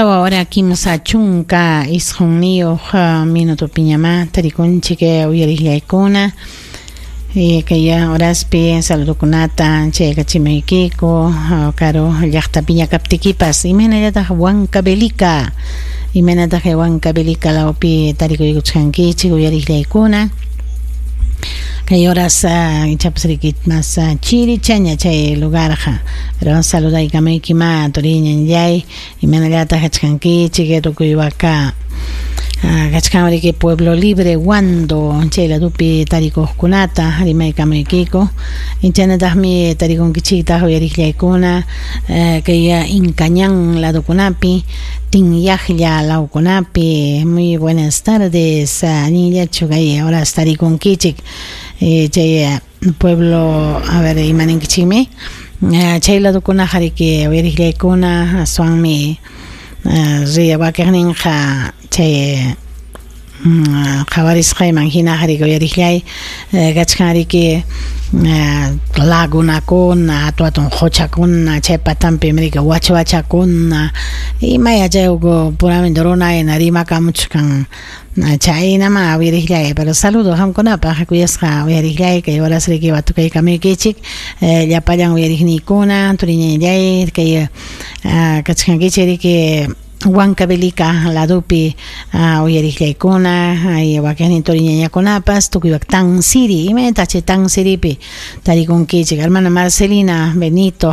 Tawa hora 39 minutopiñamá tarikunchik uyariqllaykuna. Kay horaspi saludokunata chaykachimaykiku karu llaqtapiña kaptikipas. Imaynallataq Huancavelica, imaynataq Huancavelica lawpi tarikuykuchkankichik uyariqllaykuna. Kay horas ichapas riki mas chirichaña chay lugarqa, pero saludaykamuykima turiñanllay, imaynallataq kachkankichik tukuy waka kachkan riki Pueblo Libre Huando chay ladupi tarikuqkunata rimaykamuykiku. Chaynataqmi tarikunkichiktaq uyariqllaykuna kay Incañán ladukunapi, Tinyaqlla lawkunapi. Muy buenas tardes, allinllachu kay horas tarikunkichik chay pueblo, a ver, imaninkichikmi chay ladukunaqa riki uyariqllaykuna aswanmi riya wakiqninqa chay qhawarisqayman hinaqa riki uyariqllay kachkan riki lagunakuna, hatun hatun quchakuna, chay patanpim riki wachwachakuna, imaya chay puramente runayna rimakamuchkan chaynama uyariqllay. Pero saludo qamkunapaq kuyasqa uyariqllay, kay horas riki watukaykamuykichik llapallan uyariqniykuna, turiñanllay, kay kachkankichik riki Huancavelica ladupi uyariqllaykuna, ay wakiqnin turiñañakunapas tukuy Tansiri, imaynataq chay Tansiripi tarikunkichik, hermana Marcelina Benito.